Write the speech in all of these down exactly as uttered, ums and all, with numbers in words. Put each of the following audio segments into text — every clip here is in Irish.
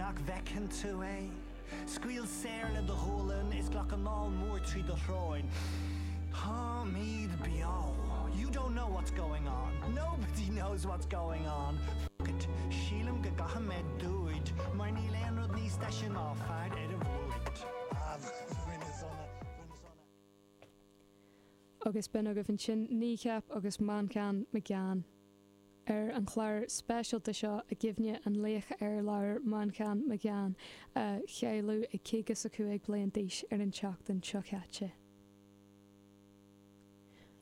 Nach bhfeiceann tú é? Scaoil saor le do ghualainn is glac anáil mór trí do shrón. Táimid beo. You don't know what's going on. Nobody knows what's going on. Fuck it. Sílim go gcaithfidh mé dúid, mar níl aon rud níos deise ná fear ar a bhluid. Ah, rinne sona, rinne sona. Agus b'in agaibh ansin Kneecap agus Manchán Magan. Ar an chlár speisialta seo i gcuimhne an laoch ar labhair Manchán Magan a cailleadh ag caoga is a cúig bliain d'aois ar an tseachtain seo caite.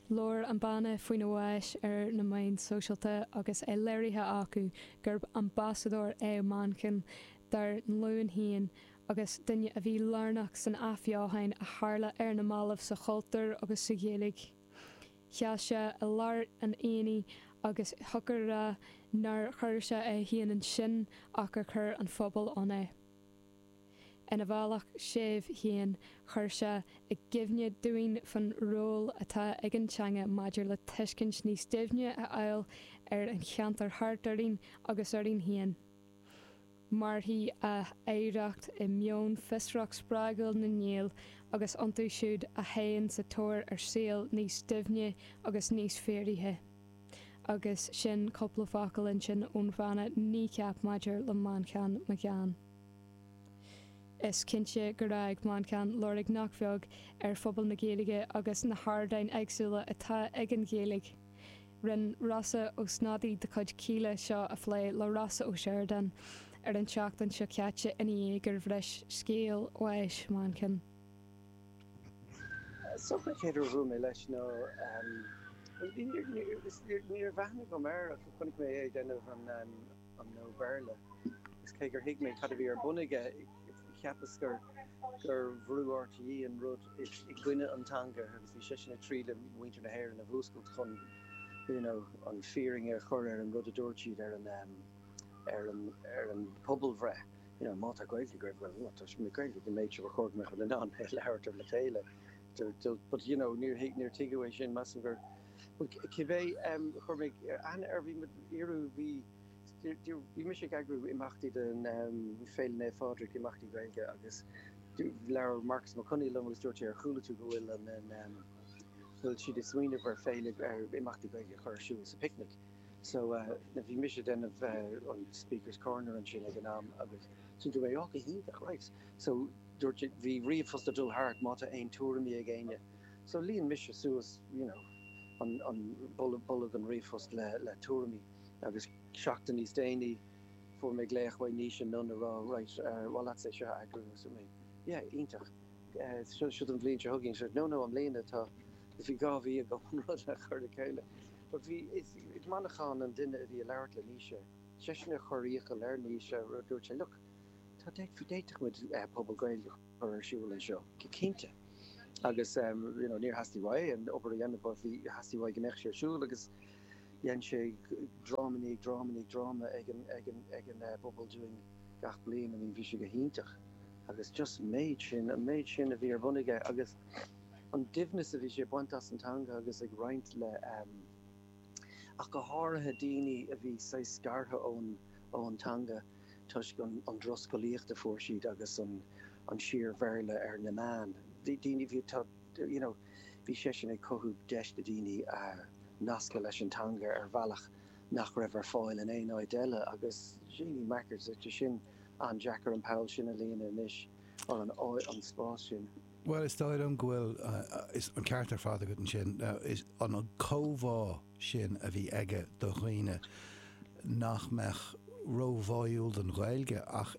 Labhair an banna faoina bhás ar na meáin sóisialta agus é léirithe acu gurb ambasadóir é Manchán dár nglúin féin agus duine a bhí lárnach san athbheochan a tharla ar na mallaibh sa chultúr agus sa Ghaeilge. Sheas sé i lár an aonaigh agus thiocfadh a rá nár chuir sé é féin ansin ach gur chuir an phobal ann é. Ina bhealach séimh féin chuir sé i gcuimhne dúinn faoin ról atá ag an teanga maidir le tuiscint níos doimhne a fháil ar an cheantar thart orainn agus orainn féin. Mairfidh a oidhreacht i meon fiosrach spreagúil na nGael agus iontu siúd a théann sa tóir ar saol níos doimhne agus níos fíoraithe. Agus sin cúpla focal ansin ón bhanna Kneecap maidir le Manchán Magan. Is cinnte gur fhág Manchán lorg nach beag ar phobal na Gaeilge agus na hardáin éagsúla atá ag an Ghaeilge. Rinne Rossa Ó Snodaigh de chuid Kíla seo a phlé le Rossa Ó Seireadáin ar an tseachtain seo caite ina dhiaidh gur bhris scéal bháis Manchán. Is dócha an chéad uair a bhuail mé leis ná níor bhreathnaigh agam air ach chonaic mé é ag déanamh an an No Béarla agus cé gur thuig mé cad a bhí ar bun aige cheapas gur gur bhrú RTÉ an rud i gcoinne an teanga agus bhí seisean ag triail muintir na hÉireann a mhúscailt chun you know an fírinne a chur ar an rud a dúirt siad ar an ar an ar an pobalbhreith you know má tá Gaeilge agaibh well tá sé Gaeilge go méid seo chóir go mbeadh in ann é labhairt le chéile but you know níor níor tuigeadh é sin measaim gur cibé chuir mé aithne air bhí iarú bhí bhí mise ag eagrú imeachtaí den Féile Naomh Phádraig imeachtaí Gaeilge agus labhair Marcus Mac Conghail liom agus dúirt sé ar chuala tú go bhfuil an bhfuil siad ag smaoineamh ar féile ar imeachtaí Gaeilge a chur ar siúl sa picnic. So uh, bhí mise déanamh uh, an Speaker's Corner ansin ag an am agus sin dúirt mé go hiontach right. So dúirt bhí ríomhphost ag dul thart má tá aon tuairimí ag éinne. So líon mise suas you know, an, an bolg an ríomhphost le, le tuairimí agus seachtain níos déanaí fuair mé glaoch ó Naoise Nunn a rá right uh, well that's é seo eagrú so mé yeah iontach uh, seo seo an bhliain seo chugainn so no no an bliain atá bhí dhá mhí go an rud a chur le chéile. But bhí is Manchán an duine a bhí ag labhairt le Naoise seisean a chuir iachall ar Naoise dúirt sé look tá d'fhéadfadh muid uh, pobal Gaeilge chur ar siúl anseo go cinnte. Agus um, you know, níor theastaigh uaidh an obair a dhéanamh bhí theastaigh uaidh go mbeadh sé ar siúl agus dhein sé dráma ní dráma ní dráma ag an ag an ag an uh, bpobal dúinn gach bliain I mean bhí sé go hiontach agus just méid sin an méid sin a bhí ar bun aige agus an doimhneas a bhí sé baint as an teanga agus ag roinnt le um, ach go háirithe daoine a bhí sé scartha ón ón teanga toisc an, an drochscolaíocht a fuair siad agus an an síor-Bhéarla ar na meáin. Daoine bhí tá you know, bhí sé sin ag cothú deis do daoine uh, nascadh leis an teanga ar bhealach nach raibh ar fáil in aon áit eile agus Jeannie Mackers sin an-deacair an poll sin a líonadh anois an an spás sin. Well is dóigh liom go bhfuil uh, is an ceart ar fad agat ansin uh, is an an comhbhá sin a bhí aige do dhaoine nach mbeadh róbháúil don Ghaeilge ach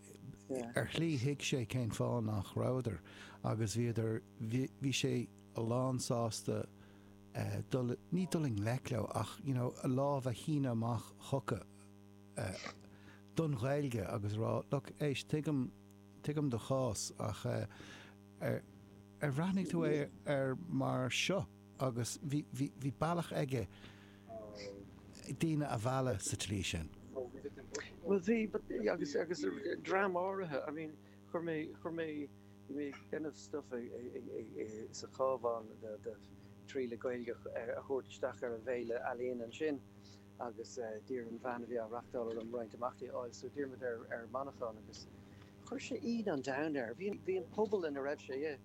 Yeah. ar shlí thuig sé cén fáth nach rabhadar agus bhíodar bhí sé a lán sásta uh, dul, ní dul i ngleic leo ach you know, a lámh a shíneadh amach chucu uh, don Ghaeilge agus rá look éist tuigim tuigim do chás ach uh, ar ar bhreathnaigh tú é ar mar seo agus bhí bhí bhí bealach aige daoine a mhealladh sa tslí sin. Well bhí but agus agus dream áirithe I mean chuir mé chuir mé bhí mé déanamh stuff sa Chabhán de de trí le Gaeilge a thabhairt isteach ar an bhféile ealaíon ansin agus d'iarr an bhean a bhí á reáchtáil an roinnt imeachtaí áil so d'iarr muid ar ar Manchán agus Chuir sé ionadh an domhain air. Bhí bhí an pobal ina raibh sé i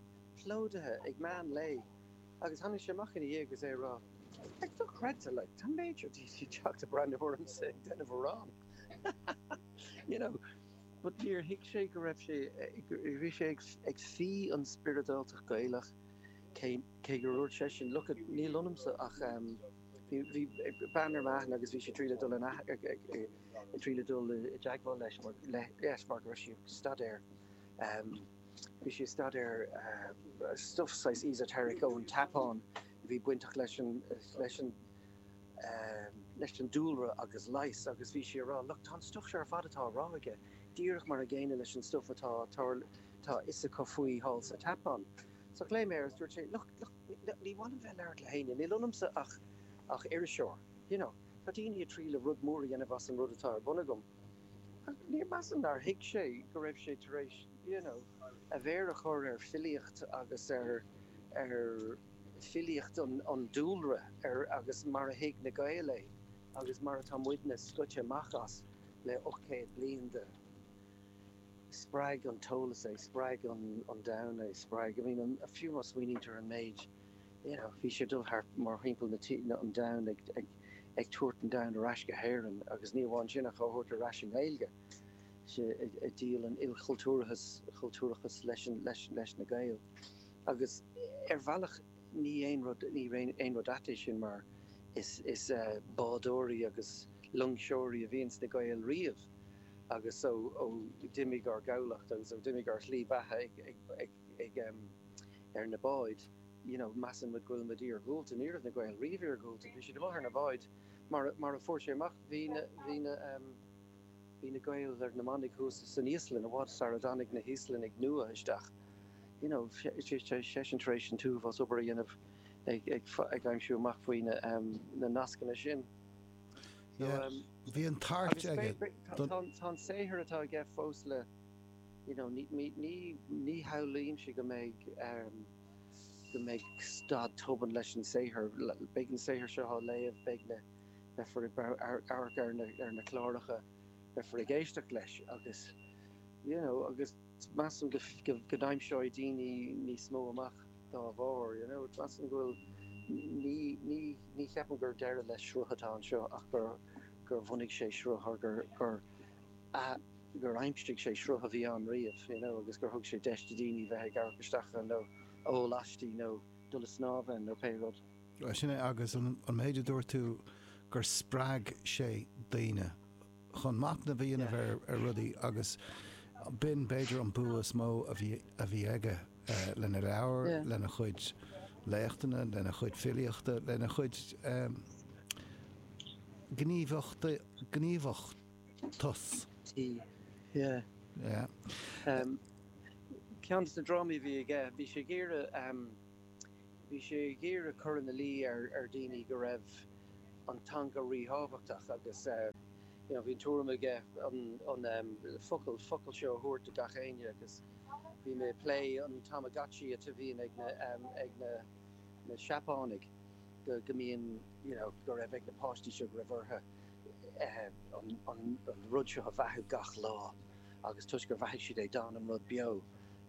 plódaithe ag meán lae agus tháinig sé amach ina dhiaidh agus é ag rá, Like, dochreidte, like, tá an méid seo daoine ag teacht ag breathnú ormsa ag déanamh amhrán. You know, but níor thuig sé go raibh sé, bhí sé ag ag fí an spioradáltacht Gaelach cé cé gur dhúirt seisean, look, níl ionamsa ach um, bhí bhí bean ar m'aithne agus bhí sí ag triail dul in ag ag ag triail dul i dteagmháil leis mar le leis mar go raibh sí ag staidéar um, bhí sí ag staidéar uh, stuff saghas esoteric ón tSeapáin a bhí bainteach leis an leis an um, leis an dúlra agus leigheas agus bhí sí ag rá, look, tá an stuff seo ar fad atá á rá aige, díreach mar an gcéanna leis an stuff atá tá tá a fhios acu faoi thall sa tSeapáin. So ghlaoigh mé air agus dúirt sé, look, look, ní mhaith liom bheith ag labhairt le héinne, níl ionamsa ach ach iriseoir, you know, tá daoine ag triail rud mór a dhéanamh as an rud atá ar bun agam. Ach níor measaim nár thuig sé go raibh sé tar éis, you know, a mhéar a chur ar filíocht agus ar ar filíocht an, an dúlra ar agus mar a thuig na Gaeil é agus mar atá muidne scoite amach as le ocht gcéad bliain de spreag an t-eolas é, spreag an, an domhan é, spreag, I mean, an, fiú má smaoinítear an méid, you know, bhí sé dul thart mar thimpeall na tí, na, an domhan ag, ag, ag tabhairt an domhan ar ais go hÉirinn agus ní amháin sin ach á thabhairt ar ais i nGaeilge. sé ag, ag díol an ilchultúrachas chultúrachas leis an, leis, leis na Gaeil. Agus ar bhealach ní aon rud ní aon aon rud ait é sin mar is, is uh, bádóirí agus loingseoirí a bhíonn sna Gaeil riamh agus ó ó d'imigh ár gcabhlach agus ó d'imigh ár slí bheatha ag, ag, ag, ag, um, ar na báid, you know, measann muid go bhfuil muid iargúlta, ní raibh na Gaeil riamh iargúlta, bhí siad amuigh ar na báid mar, mar a fuair sé amach bhí na, bhí na, um, bhí na Gaeil ar na manaigh thuas san Íoslainn i bhfad sara dtáinig na hÍoslannaigh nua isteach. You know, seisean tar éis an t-uafás obair a dhéanamh ag, ag, ag aimsiú amach faoi na, um, na nascanna sin. So, Yeah, um, bhí an tart agus aige be- be- don- tá tá an saothar atá aige fós le you know, ní, ní, ní, ní shamhlaímse go mbeidh um, go mbeidh stad tobann leis an saothar. Le- Beidh an saothar seo á léamh, beidh na beifear ag bar- ar amharc ar na, ar na cláracha, beifear ag éisteacht leis agus you know, agus measaim go, go, go n-aimseoidh daoine níos mó amach dá bharr, you know, measaim go bhfuil ní, ní, ní cheapaim gur deireadh le sruth atá anseo ach gur gur bhunaigh sé sruth or gur gur a, gur aimsigh sé sruth a bhí ann riamh, you know, agus gur thug sé deis do daoine bheith ag amharc isteach ann nó ól aisti nó dul ag snámh ann nó pé rud. Well, sin é agus an, an méid a dúirt tú gur spreag sé daoine chun machnamh a dhéanamh ar, ar rudaí agus b'in b'fhéidir an bua is mó a bhí a bhí aige uh, lena leabhar, Yeah. lena chuid léachtanna, lena chuid filíochta, lena chuid um, gníomhachta gníomhachtas. Tí. Yeah. Yeah. Um, ceann de na drámaí a bhí aige, bhí sé ag iarraidh um, bhí sé ag iarraidh cur ina luí ar ar daoine go raibh an teanga ríthábhachtach agus uh, you know, bhí an tuairim aige an, an um, focal focal seo a thabhairt do gach éinne agus bhí mé ag plé an Tamagotchi a bhíonn ag na, um, ag na, na Seapánaigh go, go mbíonn you know, go raibh ag na páistí seo go raibh orthu eh, an, an, an rud seo a bheathú gach lá agus toisc gur bheathaigh siad é d'fhan an rud beo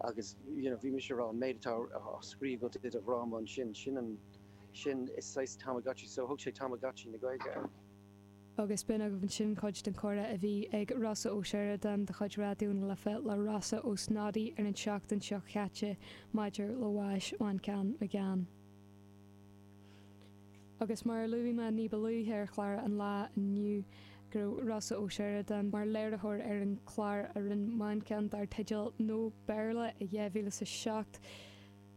agus you know, bhí mise ag rá an méid atá á scríobh i do dhráma ansin sin an sin is saghas Tamagotchi so thug sé Tamagotchi na Gaeilge air. Agus b'in agaibh ansin cuid den chomhrá a bhí ag Rossa Ó Seireadáin de chuid Raidió na Life le Rossa Ó Snodaigh ar an seachtain seo chaite maidir le bás Mhanchán Magan. Agus mar a luaigh mé ní ba luaithe ar chlár an lá inniu go raibh Rossa Ó Seireadáin mar léiritheoir ar an chlár a rinne Manchán dar teideal No Béarla i dhá mhíle a seacht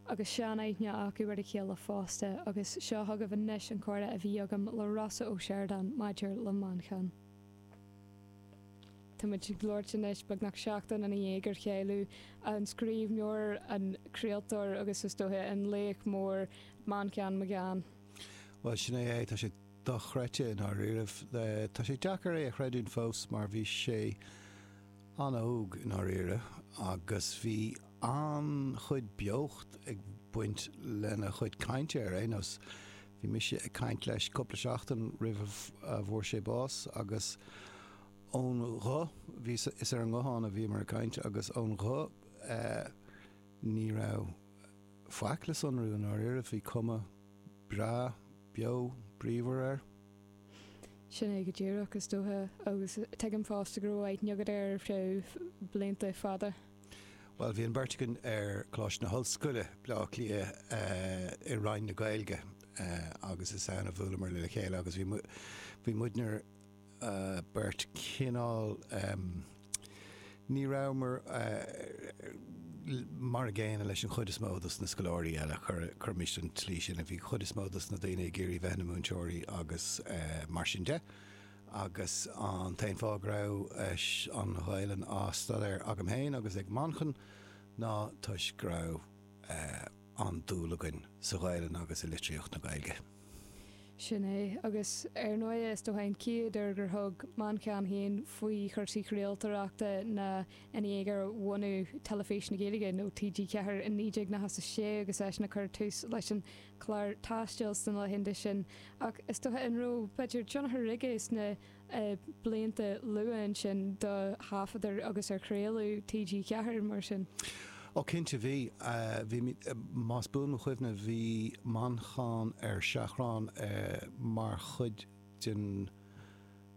agus seanaithne acu ar a chéile fosta agus seo agaibh anois an comhrá a bhí agam le Rossa Ó Seireadáin maidir le Manchán. Táimid ag labhairt anois beagnach seachtain ina dhiaidh gur cailleadh an scríbhneoir an craoltóir agus is dócha an laoch mór Manchán Magan. Well sin é é tá sé dochreidte i ndáiríribh. Tá sé deacair é a chreidiúint fós mar bhí sé an-óg i ndáiríre agus bhí an-chuid beocht ag baint lena chuid cainte ar aon nós. Bhí mise ag caint leis cúpla seachtain roimh a bhfuair sé bás agus Ón ghuth, bhí is ar an nguthán a bhíomar ag caint agus ón ghuth ní raibh faic le sonrú i ndáiríre, bhí cuma breá, beo, bríomhar air. Sin é go díreach is dócha agus tuigim fosta go raibh aithne agat air ar feadh blianta fada. Bhuel, bhí an bheirt againn ar Choláiste na hOllscoile, Baile Átha Cliath, i Roinn na Gaeilge agus is ann a bhuaileamar le chéile agus bhí muidne beirt cineál, ní rabhamar mar a gcéanna leis an chuid is mó dos na scoláirí eile, cuirimis an tslí sin, bhí an chuid is mó dos na daoine ag iarraidh bheith ina múinteoirí agus mar sin de. Agus an t-aon fáth go raibh an Ghaelainn á staidéar agam féin agus ag Manchán ná toisc go raibh an-dúil againn sa Ghaelainn agus i litríocht na Gaeilge. Sin é, agus ar ndóigh is dócha an chéad uair gur thug Manchán féin faoi chúrsaí craoltóireachta ná ina dhiaidh ar bhunú Teilifís na Gaeilge, nó T G ceathair, in naoi déag nócha a sé agus eisean ag cur tús leis an chlár Taisteal sna laethanta sin. Ach is dócha an raibh, b'fhéidir, tionchar aige sna blianta luatha ansin do thaifeadadh agus ar chraoladh T G ceathair mar sin? Ó cinnte bhí. Bhí, más buan mo chuimhne, bhí Manchán ar seachrán mar chuid den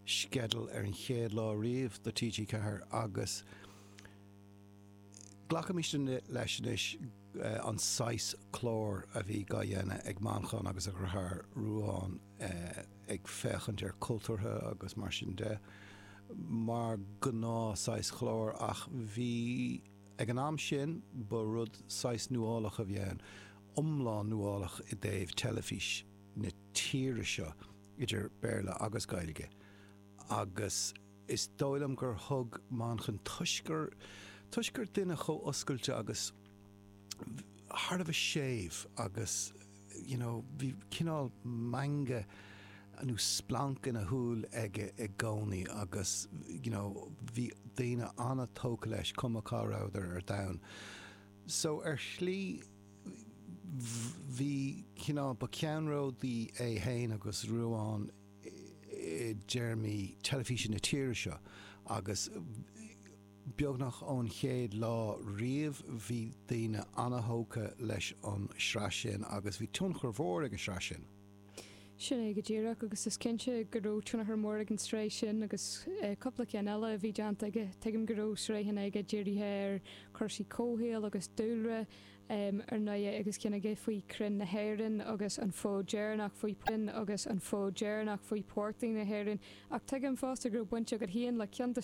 sceideal ar an chéad lá riamh do T G ceathair agus glacaimis leis anois an saghas clár a bhí á dhéanamh ag Manchán agus a dheartháir Ruadhán ag féachaint ar cultúrtha agus mar sin de mar gnáth saghas chlár ach bhí Ag an am sin, ba rud saghas nuálach a bhí ann, iomlán nuálach i dtaobh teilifís na tíre seo, idir Béarla agus Gaeilge, agus is dóigh liom gur thug Manchán, toisc gur, toisc gur duine chomh oscailte agus thar a bheith séimh agus, you know, bhí cineál meangadh nó splanc ina shúil aige i gcónaí agus, you know, bhí daoine an-tógtha leis cuma cá rabhadar ar domhan. So ar shlí bhí cineál, ba ceannródaí é féin agus Ruadhán i dtéarmaí teilifíse na tíre seo agus beagnach ón chéad lá riamh bhí daoine an-tógtha leis an sraith sin agus bhí tionchar mhór ag an sraith sin. Sin é go díreach agus is cinnte go raibh tionchar mór ag an tsraith sin agus cúpla ceann eile a bhí déanta aige. Tuigim go raibh sraitheanna aige dírithe ar chúrsaí comhshaoil agus dúlra ar ndóigh agus ceann aige faoi chrainn na hÉireann agus an fód deireanach faoi agus an fód deireanach faoi portaigh na hÉireann. Ach tuigim fosta go raibh baint agat féin le ceann de